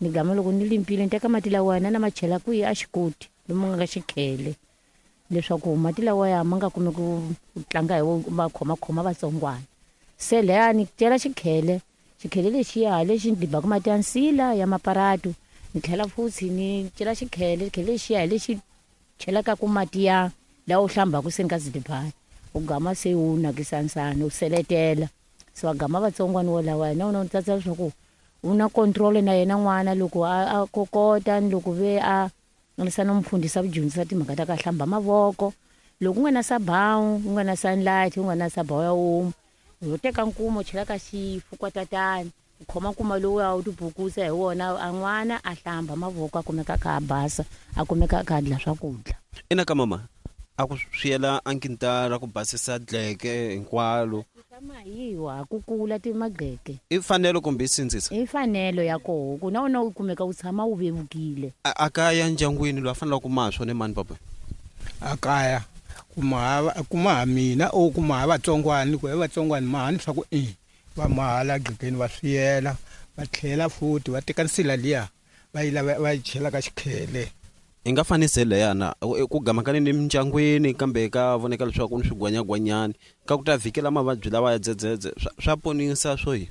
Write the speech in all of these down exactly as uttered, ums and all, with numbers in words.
Ni gama loko ni limpile ni teka mati lawaya na ma chela kwihi a xikoti lomu nga ka xikhele leswaku mati lawaya ma nga kumi ku tlanga hi wo ma khomakhoma vatsongwana. Se laya ni cela xikhele, xikhele lexiya lexi ni dibaka mati ya nsila ya maparatu, ni tlhela futhi ni cela xikhele, xikhele lexiya hi lexi chelaka ku mati ya lawa u hlambaka se nga zidibani u gama se u nakisa nsana u seletela. Se va gama vatsongwana wolawaya na wona u tsatsa leswaku u na control na yena n'wana loko a, a kokota ni loko ve a lisa no mufundhisi a ku dyondzisa timhaka ta ka hlamba mavoko. Loko u nga na sabawu, u nga na sunlight, u nga na sabawu ya omo, u teka nkuma u chela ka xifukwatatani, u khoma nkuma lowuya u tibukusa hi wona, a n'wana a hlamba mavoko a kumeka a kha a basa, a kumeka a kha a dla swakudya. Ina ka mama a ku swiyela a nkintara ku basisa dleke hinkwalo. Mahiwa ku kula ti magqeke. I fanelo kumbe i sindzisa? I fanelo ya koho ku na wona u kumeka u tshama u vevukile. A kaya ndyangwini loyi a fanelaka ku maha swona i mani papa? A kaya kuma kuma mina o kuma vatsongwani ku vatsongwani mahani swa ku i va mahala gqekeni va swiyela va tlhela futhi va teka nsila liya va yi lava va yi chela ka xikhele. Hi nga fanisi leyana ku gamakani ni mindyangwini kambe ka voneka leswaku ni swigwanyagwanyani ka ku ta vhikela mavabyi lawa ya dzedzedze swa ponisa swo yi.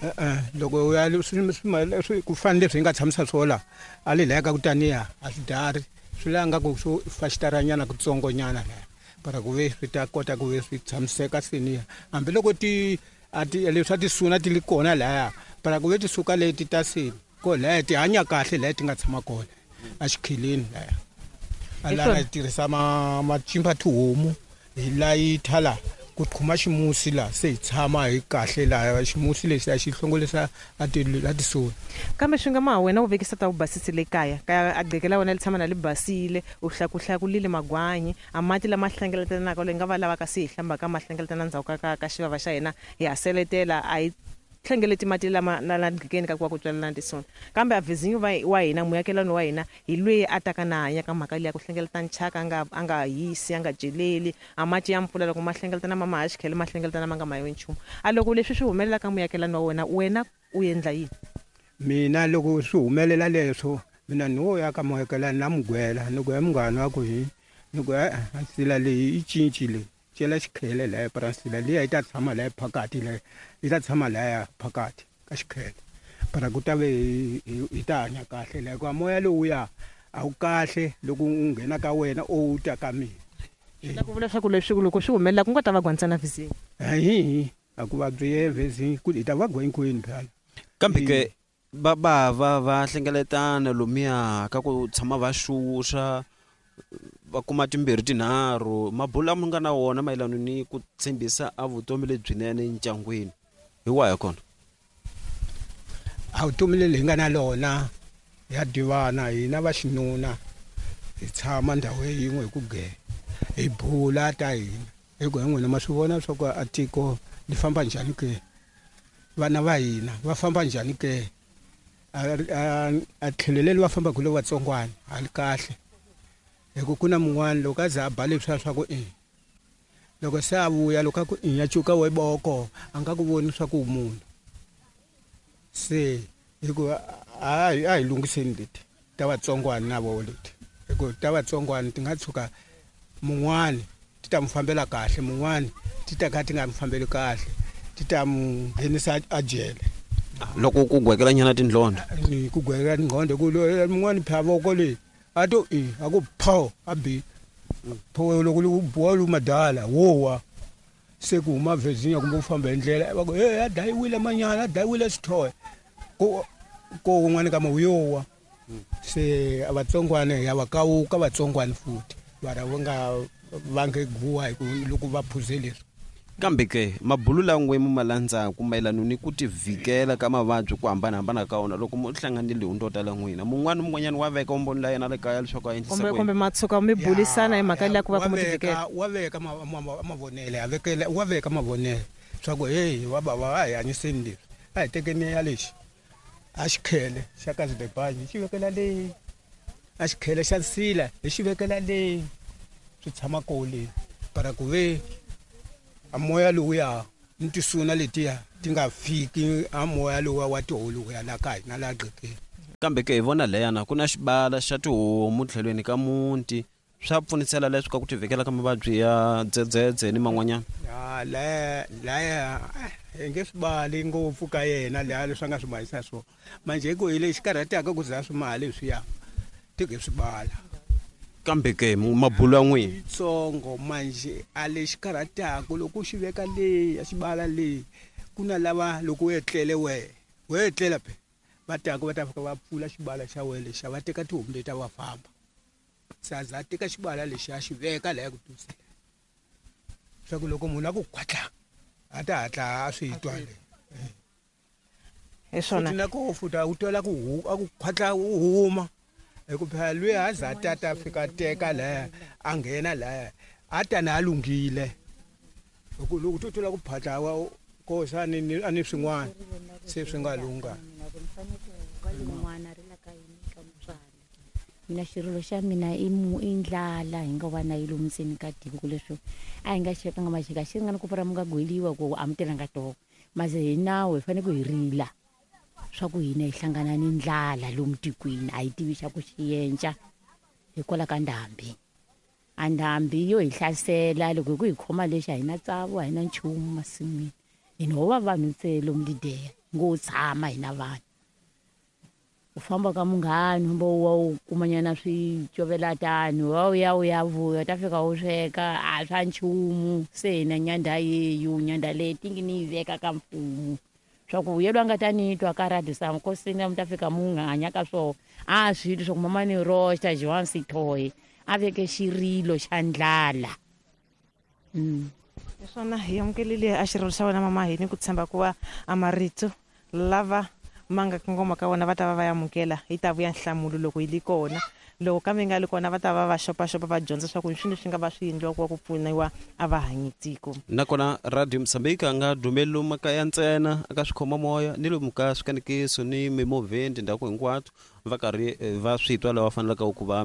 E-e loko u ya swi ku fana leswi hi nga tshamisa swola a le laya ka ku taniya a swi dari swi la nga ku swo fa xitaranyana kutsongonyana laya para ku ve swi ta kota ku ve swi tshamiseka seniya hambiloko ti a ti leswi a ti suna ti li kona laya para ku ve ti suka leti ta seni ko laya ti hanya kahle laya ti nga tshama kona a xikheleni laya. A lana hi tirhisa ma macimba tihomu hi layitha la ku qhuma ximusi la se hi tshama hi kahle laha ximusi lexi a xi hlongolisa a ti a ti suni. Kambe swi nga ma wena u vekisa ta u basisile kaya kaya a gqeke la wena li tshama na li basile u hlakuhlakulile magwanyi a mati lama hlengeletanaka leyi nga va lavaka se hi hlambaka ma hlengeletana ndzhaku ka ka ka xivava xa hina hi ha seletela a hi hlengeleti mati lama na la gqekeni ka ku va ku tswalelana tisona. Kambe a vizinyo va wa hina muakelani wa hina hi lweyi a taka na hanya ka mhaka liya ku hlengeleta nchaka a nga a nga hisi a nga celeli a mati ya mpfula loko ma hlengeletana ma ma ha xikhele ma hlengeletana ma nga mayiwi nchumu. A loko leswi swi humelela ka muakelani wa wena wena u endla yini? Mina loko swi humelela leswo mina ni wo ya ka muakelani na mugwela ni ku ya munghana wa ku hi ni ku e nsila leyi yi cincile cela xikhele laya para nsila liya yi ta tshama laya phakathi laya yi ta tshama laya phakathi ka xikhele para ku ta ve hi ta hanya kahle laya hikuva moya lowuya a wu kahle loko u nghena ka wena o wu ta ka mina. La ku vula leswaku leswi loko swi humelela ku nga ta vabya ntsena vhizini. Hayi a ku vabyi vhizini ku hi ta vabya hinkwenu phela. Kambe ke va va va va hlengeletana lomuya ka ku tshama va xuxa va kuma timbirhi tinharhu mabulo lama nga na wona mayelana ni ku tshembisa a vutomi lebyinene ndyangwini hi wahi kona? A vutomi leli hi nga na lona ya divana hina va xinuna hi tshama ndhawu yin'we hi ku ge hi bula ta hina hi ku hi n'wina ma swi vona swa ku a tiko li famba njhani ke vana va hina va famba njhani ke a a tlhelo leri va fambaka le vatsongwana a li kahle hi ku ku na mun'wana loko a za a ba leswiya swa ku i loko se a vuya loko a ku i ya cuka we boko a nga ku voni swa ku munhu se hi ku a hi a hi lunghiseni leti ta vatsongwana na vo leti hi ku ta vatsongwana ti nga tshuka mun'wani ti ta mu fambela kahle mun'wani ti ta ka ti nga mu fambeli kahle ti ta mu nghenisa a jele. Loko ku gwekela nyana tindlondho ni ku gwekela tindlondho ku mun'wani pha voko leyi a to i a ku pho a bi pho loko lu buwa lu madala wowa se ku huma Virginia kumbe u famba hi ndlela va ku hey a dayiwile manyana a dayiwile xithohe ko ko un'wana ka mawuyowa se a vatsongwana ya va kawuka vatsongwana futhi vara va nga va nge guwa hi ku loko va phuze leswi. Kambe ke mabulu langwe mu malandzaku mayelana ni ku tivhikela ka mavabyi ku hambanahambana ka wona loko mu hlanganile hi ndota la n'wina mun'wana mun'wanyana wa veka umboni la yena le kaya leswaku a endlisa kumbe kumbe matshuka mi bulisana hi mhaka liya ku va ku mu tivikela wa veka mavonele a vekela wa veka mavonele swa ku hey wa bava a hi hanyiseni leswi a hi tekeni ya lexi a xikhele xa ka zibebanyi xi vekela leyi a xikhele xa nsila hi xi vekela leyi swi tshama koo leyi para ku ve a moya lowuya ni tisuna letiya ti nga fiki a moya lowuya wa tiholo ya la ka hina la gqekeni. Kambe ke hi vona leyana ku na xibala xa tihomu tlhelweni ka muti swa pfunisela leswi ka ku tivhikela ka mavabyi ya dzedzedze ni man'wanyana. Ya laya laya hi nge swi bali ngopfu ka yena laya leswi a nga swi mahisa swona manje hi ku hi lexi karhataka ku za swi mali leswiya tike swi bala. Kambe ke mabulo ya n'wina yitsongo manje a lexi karhataka loko u xi veka leyi ya xibala leyi ku na lava loko u etlele wehe we etlela phe va taka va ta fika va pfula xibala xa wena lexiya va teka tihomu leti va famba se a za a teka xibala lexiya a xi veka laya ku tusela swa ku loko munhu a ku khwatla a ta hatla a swi twa le. Hi swona futhi na koho futhi a wu twela ku a ku khwatla u huma hi ku phela lwiya a za a tata a fika a teka laya a nghena laya a ta na a lunghile hi ku loko to twela ku phatla wa kosa a ni a ni swin'wana se swi nga lungha. Mina xirilo xa mina i mu i ndlala hi nga va na yi lomu ndzeni ka tiko ku leswi a hi nga xekanga maxeka xi ringana ku pfura mi nga gweliwa ku a mi tirhanga toho mase hi nawu hi fanele ku hi rila swa ku hina hi hlangana ni ndlala lomu tikweni a hi tivi xa ku xi yenca hikwalaho ka ndhambi. A ndhambi yo hi hlasela loko hi ku hi khoma lexi a hi na tsavu a hi na nchumu masin'wini hina ho va vanhu ntsena lomu Lideya ngo tshama hina vanhu. U famba ka munghana kumbe u wa u kumanyana swicovelatani wa u ya u ya vuya u ta fika u sweka a swa nchumu se hina nyandha yeyu nyandha leyi tingi ni yi veka ka mfumo swa ku yelwa nga ta ni twa ka radio sa nkosini mi ta fika mu nga hanya ka swona a swi twi swa ku mama ni roxa Joan Sithoye a veke xirilo xa ndlala. Mm. Hi swona hi amukelile a xirilo xa wena mama hi ni ku tshemba ku va a marito lava ma nga kongoma ka wona va ta va va amukela yi ta vuya nhlamulo loko yi li kona loko kambe yi nga li kona va ta va va xopaxopa va dyondza swa ku i swilo leswi nga va swi endliwa ku va ku pfuniwa a va hanyi tiko. Nakona radio Mozambique a nga dumeli lomu makaya ntsena aka swikhomamoya ni lomu ka swikanekiso ni mimovheni tindhawu hinkwato va karhi va swi twa lava faneleke ku va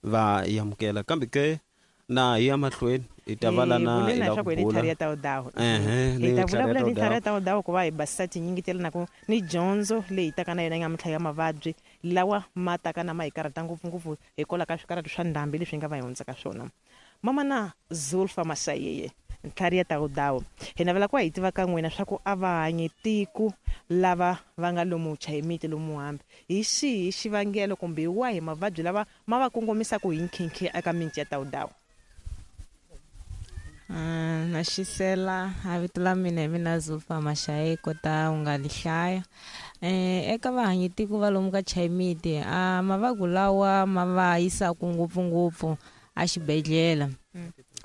va amukela kambe ke na hi ya mahlweni hi ta vala na hi la ku bula ya Tawudawu hi ta vulavula ni tlhari ya Tawudawu ku va hi basisa tinyingi tele na ku ni dyondzo leyi taka na yona yi nga mintlha ya mavabyi lawa ma taka na ma hi karhata ngopfungopfu hikwalaho ka swikarhati swa ndhambi leswi hi nga va hi hundza ka swona. Mama na Zulfa Masayeye ntlhari ya Tawudawu hi navela ku va hi tiva ka n'wina swa ku a va hanyi tiko lava va nga lomu chayimiti lomu hambi hi xihi xivangelo kumbe hi wahi mavabyi lava ma va kongomisaka hi nkhinkhi eka miti ya Tawudawu? Uh, na xisela a vito la mina hi mina Zulfa Mashaye kota u nga lihlaya eh eka vahanyi tiko va lomu ka chayimiti a mavabyi lawa ma va yisaka ngopfungopfu a xibedhlele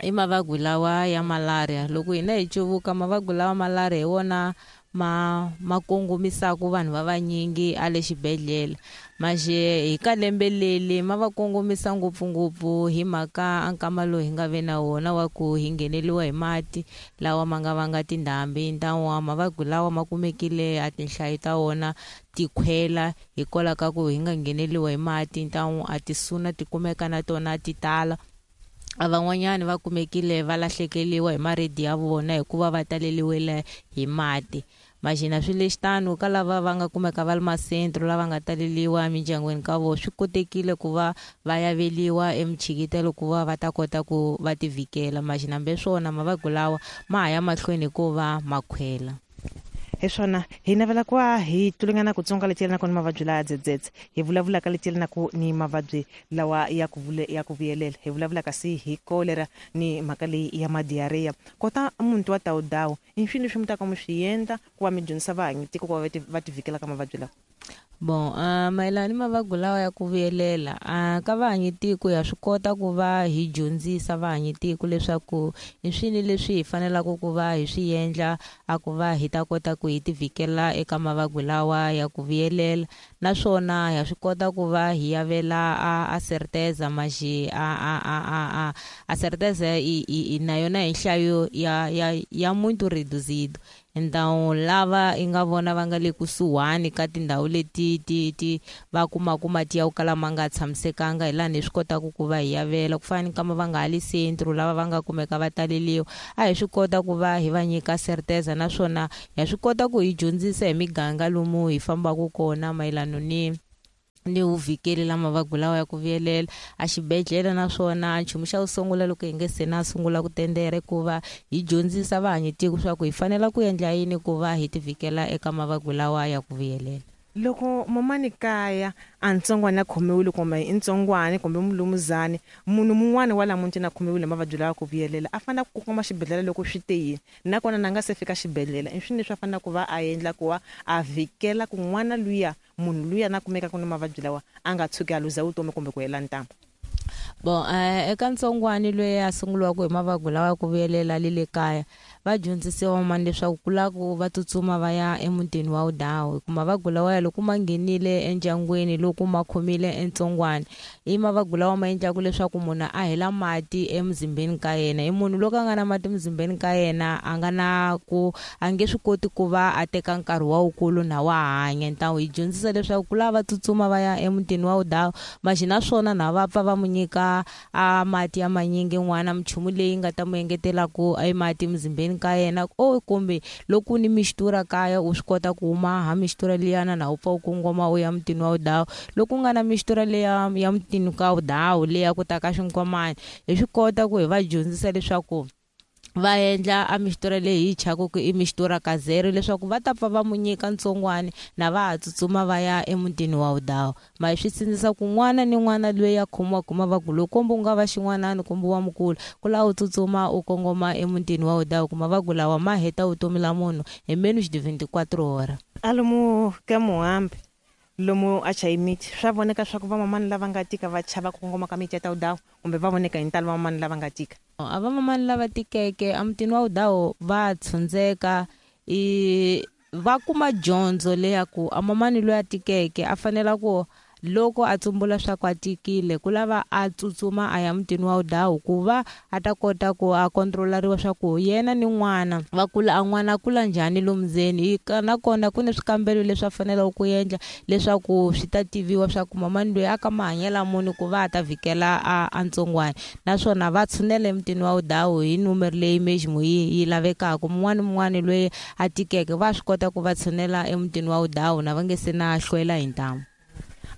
i mavabyi lawa ya malaria. Loko hina hi cuvuka mavabyi lawa malaria hi wona ma ma kongomisaka vanhu va vanyingi a le xibedhlele maxe hi ka lembe leli ma va kongomisa ngopfungopfu hi mhaka a nkama lowu hi nga ve na wona wa ku hi ngheneliwa hi mati lawa ma nga vanga tindhambi ntawa mavabyi lawa ma kumekile a tinhlayo ta wona ti khwela hikwalaho ka ku hi nga ngheneliwa hi mati ntawu a tisuna ti kumeka na tona ti tala. A van'wanyani va kumekile va lahlekeliwa hi maredi ya vona hikuva va taleliwile hi mati maxina swi lexi tano ka lava va nga kumeka va le masentro lava nga taleliwa emindyangwini ka vona swi kotekile ku va va yaveliwa emichikitelo ku va va ta kota ku va ti vhikela maxina hambi swona mavabyi lawa ma ha ya mahlweni hikuva ma khwela. Hi swona hi navela ku va hi tlulingana ku tsonga leti yelanaka ni mavabyi lawa ya dzedzedze hi vulavulaka leti yelanaka ni mavabyi lawa ya ku vule ya ku vuyelela hi vulavulaka si hi kolera ni mhaka leyi ya madiarrhea kota muntu wa Tawudawu i swilo leswi mi taka mi swi endla ku va mi dyondzisa vahanyi tiko ku va va ti vhikela ka mavabyi lawa? Bon, uh, mayelana ni mavabyi lawa ya ku vuyelela uh, ka vahanyi tiko ya swi kota ku va hi dyondzisa vahanyi tiko leswaku i swini leswi hi fanelaka ku va hi swi endla a ku va hi ta kota ku hi ti vhikela eka mavabyi lawa ya ku vuyelela naswona ya swi kota ku va hi yavela a, a certeza maxi a a a a a a certeza i, i, i na yona hi nhlayo ya ya ya muito reduzido. Então lava i nga vona va nga le kusuhani ka tindhawu leti ti ti va kumaka mati ya ku kala ma nga tshamisekanga hi laha hi swi kotaka ku va hi yavela ku fana ni kama va nga ha le centro lava va nga kumeka va taleliwa a hi swi kota ku va hi va nyika certeza naswona ha swi kota ku hi dyondzisa hi miganga lomu hi fambaka kona mayelana ni ni wu vhikeli la mavabyi lawa ya ku vuyelela a xibedhlele. Naswona nchumu xa ku sungula loko hi nge se na sungula ku tendera i ku va hi dyondzisa vahanyitiko swa ku hi fanela ku endla yini ku va hi ti vhikela eka mavabyi lawa ya ku vuyelela. Loko mamani kaya a ntsongwana a khomiwile, kumbe i ntsongwana kumbe mulumuzani, munhu mun'wana wa la mutini a khomiwile mavabyi lawa ku vuyelela, a fanele ku kongoma xibedhlele loko swi te yini? Nakona na nga se fika xibedhlele, i swini leswi a fanele ku va a endla ku va a vhikela ku n'wana luya, munhu luya na kumekaka ni mavabyi lawa, a nga tshuki a luza vutomi kumbe ku hela ntamu? Bon, eh, eka ntsongwani loyi a sunguliwaka hi mavabyi lawa ya ku vuyelela le le kaya, va dyondzisiwa mani leswaku ku lava ku va tsutsuma va ya emutini wa wudawu, hi ku mavabyi lawa ya loko ma nghenile endyangwini, loko ma khomile entsongwani, i mavabyi lawa ma endlaka leswaku munhu a hela mati emuzimbeni ka yena. I munhu loko a nga na mati emuzimbeni ka yena, a nga na ku a nge swi koti ku va a teka nkarhi wa wukulu na wa hanya. Ntawu hi dyondzisa leswaku ku lava va tsutsuma va ya emutini wa wudawu maxi, naswona na va pfa va mu nyika a mati ya manyingi n'wana, minchumu leyi nga ta mu engetelaku e mati emuzimbeni ka yena, o kumbe loko ni mixtura kaya, u swi kota ku huma ha mixtura liyana na u pfa u kongoma u ya mutini wa wudawu. Loko u nga na mixtura leya ya mutini ka wudawu leya ku ta ka xinkwamani, hi swi kota ku hi va dyondzisa leswaku va endla a mixtura leyi hi chaka ku i mixtura ka zero, leswaku va ta pfa va mu nyika ntsongwani na va ha tsutsuma va ya emutini wa wudawu. Ma hi swi sindzisa ku n'wana ni n'wana loyi a khomiwaka mavabyi lowu, kumbe u nga va xin'wanani kumbe wa mukulu, ku lava u tsutsuma u kongoma emutini wa wudawu, ku mavabyi lawa ma heta vutomi la munhu hi menos de vingt-quatre hora. A lomu ka muhambi lomu a chayimiti, swa voneka swa ku vamamani lava nga tika va chava ku kongoma ka miti ya ta wudawu, kumbe va voneka hi ntalo vamamani lava nga tika? A vamamani lava tikeke emutini wa wudawu va tshundzeka, i va kuma dyondzo leya ku a mamani loyi a tikeke a fanela ku loko a tsumbula swa ku a tikile, ku lava a tsutsuma a ya mutini wa wudawu ku va a ta kota ku a kontrolariwa swa ku yena ni n'wana va kula, a n'wana a kula njhani lomu ndzeni. Nakona ku ni swikambelo leswi a faneleke ku endla leswaku swi ta tiviwa swa ku mamani loyi a ka mahanyelo muni ku va a ta vhikela a a ntsongwana. Naswona va tshunela emutini wa wudawu hi numero leyi meximu yi yi lavekaka. Mun'wana ni mun'wana loyi a tikeke va swi kota ku va tshunela emutini wa wudawu na va nge se na hlwela hi ntamu.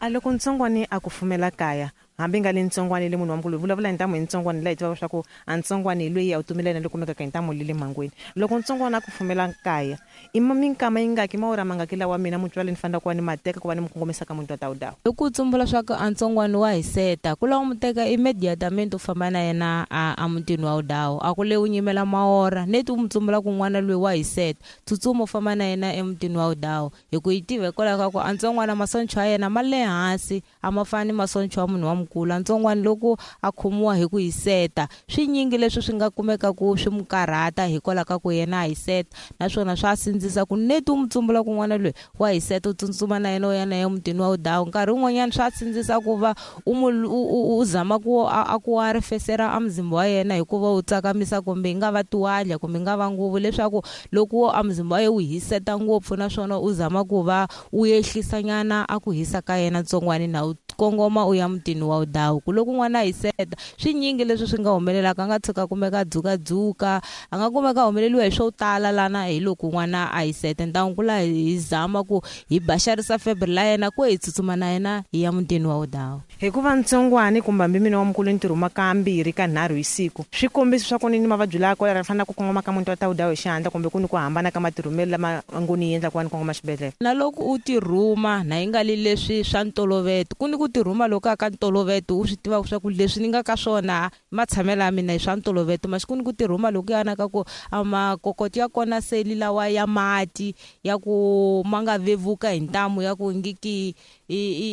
A loko ntsongwani a ku fumela kaya, hambi nga le ntsongwani le munhu wa mukulu, vulavula hi ntamu hi ntsongwani laha hi tivaka swa ku a ntsongwani hi loyi a wu tumela yena le kumekaka hi ntamu le le mhangweni, loko ntsongwana a ku fumela kaya, i minkama yi ngaki, mawura mangaki lawa mina mutswari ni fanele ku va ni ma teka ku va ni mu kongomisa ka muti wa ta wudawu? Loko u tsumbula swa ku a ntsongwani wa hiseta, ku lava mu teka immediatamente u famba na yena a a mutini wa wudawu. A ku le u nyimela maora neti u mu tsumbula ku n'wana loyi wa hiseta, tsutsuma u famba na yena emutini wa wudawu, hi ku yi tiva hikwalaho ka ku a ntsongwana masoncho ya yena ma le hansi, a ma fani masoncho ya munhu wa mukulu. Ntsongwana loko a khomiwa hi ku hiseta, swinyingi leswi swi nga kumeka ku swi mu karhata hikwalaho ka ku yena a hiseta, naswona swa sindzisa ku neti u mu tsumbula ku n'wana loyi wa hiseta, u tsutsuma na yena u ya na yena emutini wa wudawu. Nkarhi wun'wanyana swa sindzisa ku va u mu u u zama ku a ku a rifesera a muzimba wa yena hikuva u tsakamisa, kumbe yi nga va tiwadla kumbe yi nga va nguvu, leswaku loko a muzimba wa yena wu hiseta ngopfu, naswona u zama ku va u ehlisa nyana a ku hisa ka yena ntsongwani na u kongoma u ya mutini wa wudawu. Ku loko n'wana a hiseta, swinyingi leswi swi nga humelelaka, a nga tshuka kumeka a dzukadzuka, a nga kumeka a humeleliwa hi swo tala lana hi loko n'wana a hiseta. Ntangu ku la hi zama ku hi baxarisa febre la yena ku hi tsutsuma na yena hi ya mutini wa wudawu. Hikuva ntsongwani kumbe hambi mina wa mukulu ni ti rhuma kambirhi ka nharhu hi siku, swi kombisa swa ku ni ni mavabyi lawa kolera, fanele ku kongoma ka muti wa ta wudawu hi xihatla, kumbe ku ni ku hambana ka matirhumelo lama ngo ni endla ku va ni kongoma xibedhlele? Na loko u tirhuma na yi nga li leswi swa ntoloveto, ku ni ku tirhuma loko a ka ntoloveto u swi tivaka swa ku leswi ni nga ka swona matshamelo ya mina hi swa ntoloveto, masi ku ni ku tirhuma loko yana ka ku a makokoto ya kona seli lawa ya mati ya ku ma nga vevuka hi ntamu ya ku ngiki i i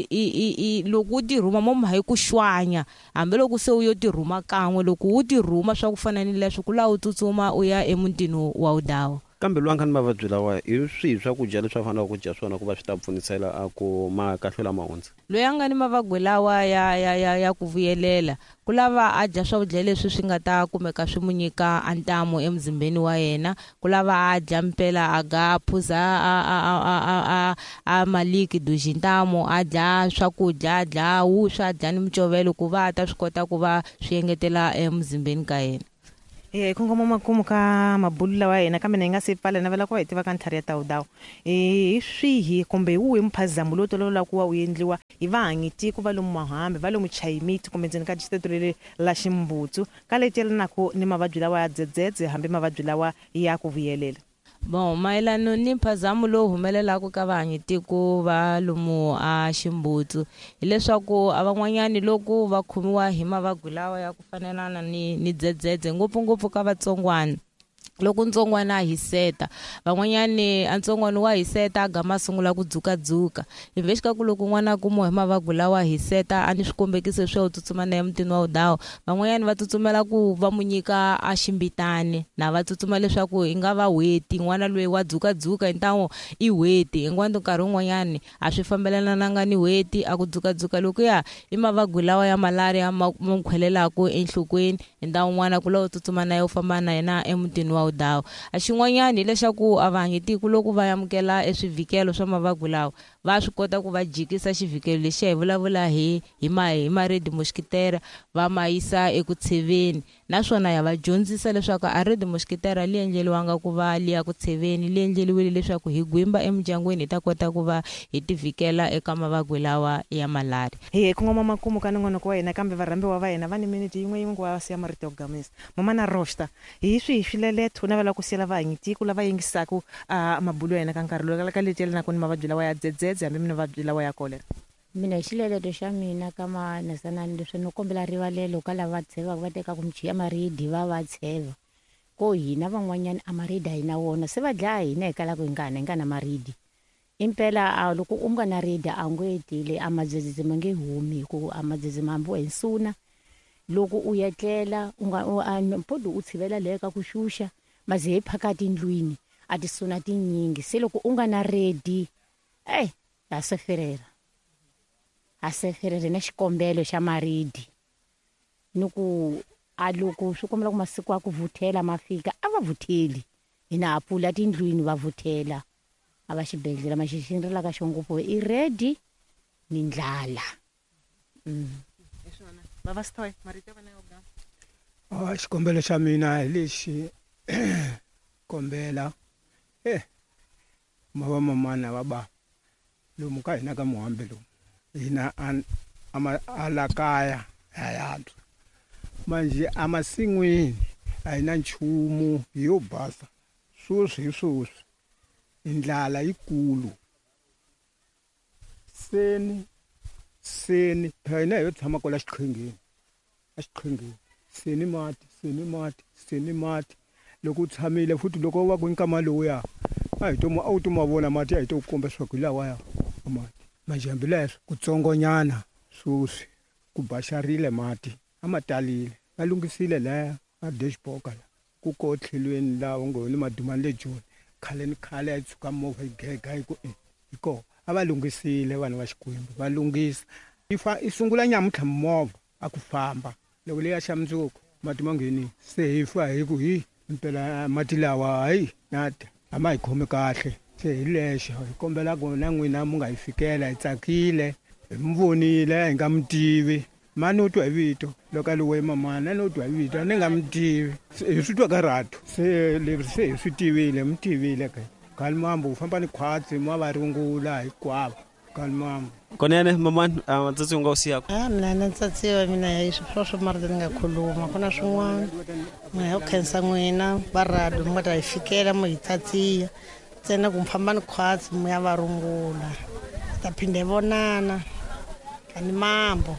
i i i loko u tirhuma mo ma hi ku xwanya, hambiloko se u yo tirhuma kan'we, loko u tirhuma swa ku fana ni leswi, ku laha u tsutsuma u ya emutini wa wudawu. Kambe loyi a nga ni mavabyi lawa, hi swihi swakudya leswi a faneleke ku dya swona ku va swi ta pfunisela a ku ma kahlula ma hundza? Loyi a nga ni mavabyi lawa ya ya ya ya ku vuyelela, ku lava a dya swakudya leswi swi nga ta kumeka swi mu nyika a ntamu emuzimbeni wa yena, ku lava a dya mpela, a ga phuza a a a a a a a maliki duji ntamu, a dya swakudya, a dya wuswa, a dya ni micovelo ku va a ta swi kota ku va swi engetela emuzimbeni ka yena. Hi kongoma makumu ka mabulu lawa ya hina, kambe na hi nga se pfala navela ku va hi tiva ka ntlhari ya tawudawu hi swihi kumbe hi wuhi mphazamo lowu tolovelaka ku va wu endliwa hi vahanyitiko va lomu Mahambi, va lomu Chayimiti kumbe ndzeni ka distrito leri la Ximbutsu ka leti yelanaka ni mavabyi lawa ya dzedzedze hambi mavabyi lawa ya ku vuyelela? Bon, mayelano ni mphazamo lowu humelelaka ka vahanyitiko va lomu a Ximbutsu hileswaku a van'wanyani loko va khomiwa hi mavabyi lawa ya ku fanelana ni ni dzedzedze, ngopfungopfu ka vatsongwana, loko ntsongwana a hiseta, van'wanyani a ntsongwana wa hiseta a gama a sungula ku dzukadzuka. Ivi ka ku loko n'wana a kumiwa hi mavabyi lawa hiseta a ni swikombekiso swa u tsutsuma na emutini wa wudawu, van'wanyani va tsutsumela ku va mu nyika a ximbitani, na va tsutsuma leswaku i nga va weti n'wana loyi wa dzukadzuka hintawo i weti hinkwato. Nkarhi wun'wanyani a swi fambelananga ni weti, a ku dzukadzuka lokuya i mavabyi lawa ya malaria ma mu khwelelaka enhlokweni, hintawo n'wana ku lava u tsutsuma na yena u famba na yena emutini wa wudawu. A xin'wanyani hileswaku a vahanyitiko loko va amukela eswivhikelo swa mavabyi lawa va swi kota ku va jikisa xivhikelo lexiya hi vulavula hi hi ma hi ma-red mosquitera va ma yisa eku tsheveni, naswona ya va dyondzisa leswaku a red mosquitera li endleriwanga ku va li ya ku tsheveni, li endleriwile leswaku hi gwimba emindyangwini hi ta kota ku va hi tivikela eka mavabyi lawa ya malaria. Hi kongoma makumu ka nongonoko wa hina, kambe varhambiwa va hina va ni minete yin'we yin'we ku va va siya marito ya ku gamisa. Mama na Rosta, hi swihi swileleto u navela ku siyela vahanyitiko lava yingisaka mabulu ya hina ka nkarhi lowu ka leti yelanaka ni mavabyi lawa ya dzedzedze hambi mavabyi lawa ya kolera? Mina hi xileleto xa mina ka manasanani leswi no kombela rivalelo ka lava tshevaka va tekaka michi ya maridi va va tsheva ko hina van'wanyani a maridi a hi na wona, se va dlaya hina hi kalaka hi nga na hi nga na maridi. Impela a loko u nga na ridi a ngo etile a madzedzedze ma nge humi, hikuva a madzedze ma hambiwa hi nsuna. Loko u etlela u nga mpodi u tshivela leyo ka ku xuxa maze hi phakati ndlwini a tisuna tinyingi, se loko u nga na redi ey ha seferera ha seferera na xikombelo xa maridi ni ku a loko swi kombela ku masiku ya ku vuthela ma fika a va vutheli, hina ha pfula tindlwini va vuthela a va xibedhlele maxixi ni rilaka xo ngopfu i redi ni ndlala. Baba Stoy, marito ya wena yo gama. Ah, xikombelo xa mina hi lexi kombela eh ma va mamana va ba lomu ka hina ka Muhambi lomu hina a la kaya ya yantswa manje emasin'wini a hi na nchumu yo basa sweswi hi sweswi indlala yikulu seni seni phela hina yo tshama kwala xiqhingini a xiqhingini seni mati seni mati seni mati loko u tshamile futhi loko va ku nkama lowuya a hi to a wu to ma vona mati a hi to komba leswaku hi lawaya mati manje hambi leswo kutsongonyana sweswi ku baxarile mati a ma talile va lunghisile laya a dashboard la ku ko tlhelweni laha u ngo ni madumani le Joni khale ni khale a yi tshuka movha yi gega yi ku hi kona a va lunghisile vanhu va Xikwembu va lunghisa yi fa yi sungula nyamuntlha movha a ku famba loko leya xa mundzuku mati ma ngheni se hi fa hi ku hi impela mati lawa hayi nata a ma hi khomi kahle se hi lexo hi kombela ku na n'wina mu nga hi fikela hi tsakile hi mi vonile hi nga mi tivi mani u twa hi vito loko a li we mamana ni u twa hi vito a ni nga mi tivi hi swi twa ka ratu se leswi se hi swi tivile mi tivile ke Kalimambo u famba ni khwatsi ma va rungula hinkwavo Kalimambo. Konene mamani a ntsatsi u nga wu siyaka? A mina na ntsatsi wa mina hi sweswo marito ni nga khuluma ku na swin'wana mina hi ku khensa n'wina va rado mi nga ta hi fikela mo hi tsatsiya ntsena ku mi famba ni khwatsi mi ya va rungula hi ta phinda hi vonana Kalimambo.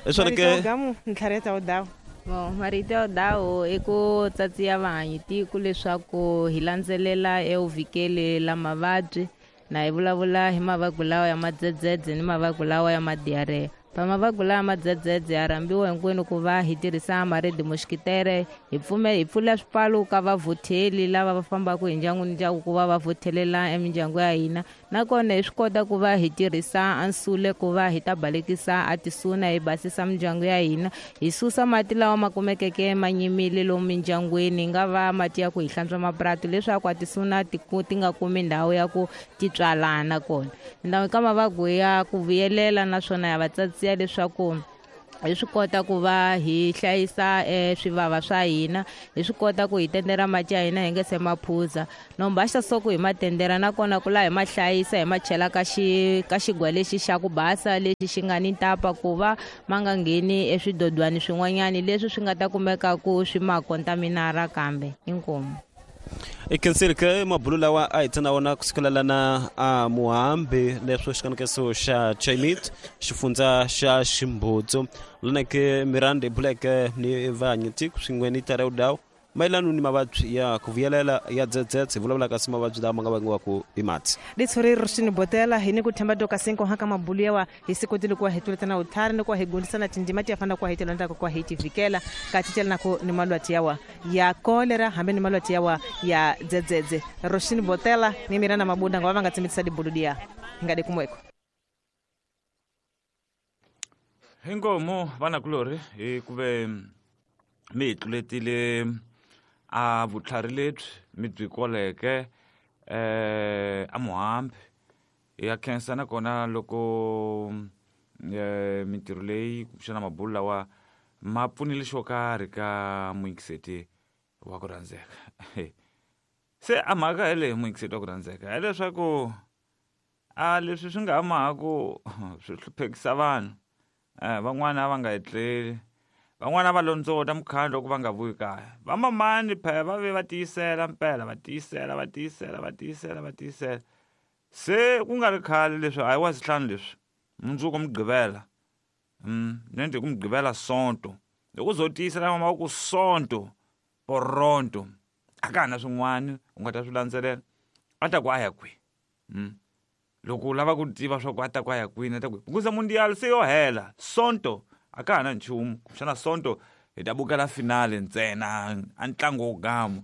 Hi swona ke gamu ntlhari ya tawudawu. Bon, marito ya dawu i ku tsatsiya vahanyitiko leswaku hi landzelela evuvikeli la mavabyi na hi vulavula hi mavabyi lawa ya madzedzedze ni mavabyi lawa ya madiarheya. Pa mavabyi lawa ya madzedzedze ya rhambiwa hinkwenu ku va hi tirhisa ma-red mosquitere hi pfume hi pfula swipfalo ka vavhutheli lava va fambaka hi ndyangu ni ndyangu ku va va vhuthelela emindyangu ya hina, nakona hi swi kota ku va hi tirhisa ansule ku va hi ta balekisa a tisuna hi basisa mindyangu ya hina, hi susa mati lawa ma kumekeke ma nyimile lomu mindyangwini, hi nga va mati ya ku hi hlantswa mapurasi leswaku a tisuna ti ti nga kumi ndhawu ya ku ti tswalana kona. Ndhawu ka mavabyi ya ku vuyelela naswona ya va tsatsiya leswaku Hi swi kota ku va hi hlayisa swivava swa hina, hi swi kota ku hi tendera mati ya hina hi nge se ma phuza. No mbaxa soko hi ma tendera nakona ku laha hi ma hlayisa hi ma chela ka xi ka xigwa lexi xa ku basa lexi xi nga ni ntapa ku va ma nga ngheni eswidodwani swin'wanyani leswi swi nga ta kumeka ku swi ma kontaminara kambe. Inkomu. I khensile ke mabulu lawa a hi tsana wona kusukela lana a Muhambi leswo xikanekeso xa Chaimit xifundza xa Ximbutsu lana ke Miranda Black ni vanyiti swin'we ni Tareu Dawu mayelana ni mavabyi ya ku vuyelela ya dzedzedze hi vulavula kasi mavabyi lama nga vangiwaka hi mati. Litshuri Roshini Botela hi ni ku themba doka cinco haka mabulu yawa hi si kotile ku wa hi tuletana uthari ni ku wa hi gundisana tindima ti ya fana ku wa hi telondzaka ku wa hi tivikela ka titela na ku ni malwati yawa ya kolera hambi ni malwati yawa ya dzedzedze. Roshini Botela ni Miranda Mabunda nga va nga tsimitisa dibulu dia hi nga de kumweko. Hinkomu vanakulorhi hi ku ve mi hi tluletile a vutlhari lebyi mi byi koleke eh a Muhambi. Ya khensa nakona loko eh mintirho leyi kumbexana mabulu lawa ma pfunile xo karhi ka muyingiseti wa ku rhandzeka. Se a mhaka hi leyi muyingiseti wa ku rhandzeka hileswaku a leswi swi nga ha mahaku swi hluphekisa vanhu. Eh van'wana a va nga etleli, van'wana va londzota mukhandlu loko va nga vuyi kaya. Vamamani phela va ve va tiyisela mpela, va tiyisela va tiyisela va tiyisela va tiyisela. Se ku nga ri khale leswi a hi wa sihlanu leswi mundzuku Mugqivela, mm nende ku Mugqivela Sonto loko zo tiyisela mama wa ku Sonto poronto a ka ha na swin'wana u nga ta swi landzelela a ta ku a ya kwihi. Mm loko u lava ku tiva swa ku a ta ku a ya kwini a ta ku hikuza mundial se yo hela Sonto a ka ha na nchumu kumbexana Sonto hi ta bukela finale ntsena a ntlangu wo gamu.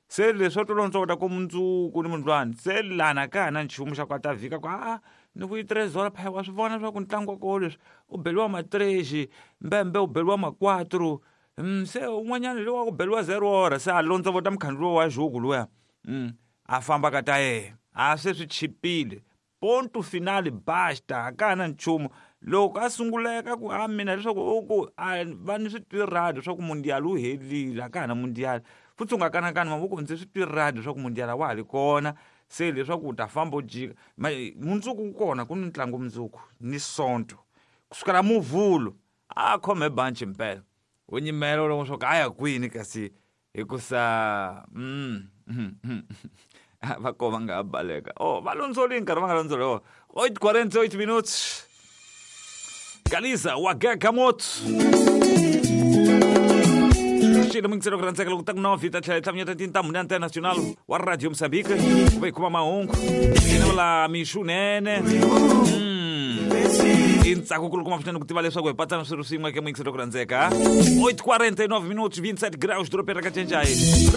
Se leswi to londzota ku mundzuku ni mundlwani se lana ka ha na nchumu xa ku a ta vhika ku a ni vuyi trezora phaya wa swi vona swa ku ntlangu wa koho leswi u beliwa ma-tres mbembe u beliwa ma-quatro mm, se un'wanyana lowa ku beliwa zero ora se a londzovota mukhandlu wa juku luya mm, a famba ka ta yena a se swi chipile ponto finale basta a ka ha na nchumu. Loko a sunguleka ku a mina leswaku u ku a va ni swi twi radio swa ku mundial wu helile a ka ha na mundial futhi u nga kanakani mavoko ndzi swi twi radio swa ku mundial wa ha ri kona se leswaku u ta famba u jika mundzuku ku kona ku ni ntlangu mundzuku ni Sonto kusukela Muvhulu a khome banchi mpela u nyimela loko swa ku a ya kwini kasi hikusa mm va ko va nga ha baleka oh va londzoli nkarhi va nga londzoli oh oito quarenta e oito minutos. Galiza wa Moto xilo mingiselo ku rhandzeka loko ta ku nove ta tlhela tlhamanyeta tintambu na Antena Nacional wa Radio Moçambique ku va hi kuma mahungu ina vula mixunene i ntsako kulukumba swinene ku tiva leswaku hi patsana swilo swin'we eka muyingiselo ku rhandzeka oito quarenta e nove minutos vinte e sete graus doroba ra Kacenjai.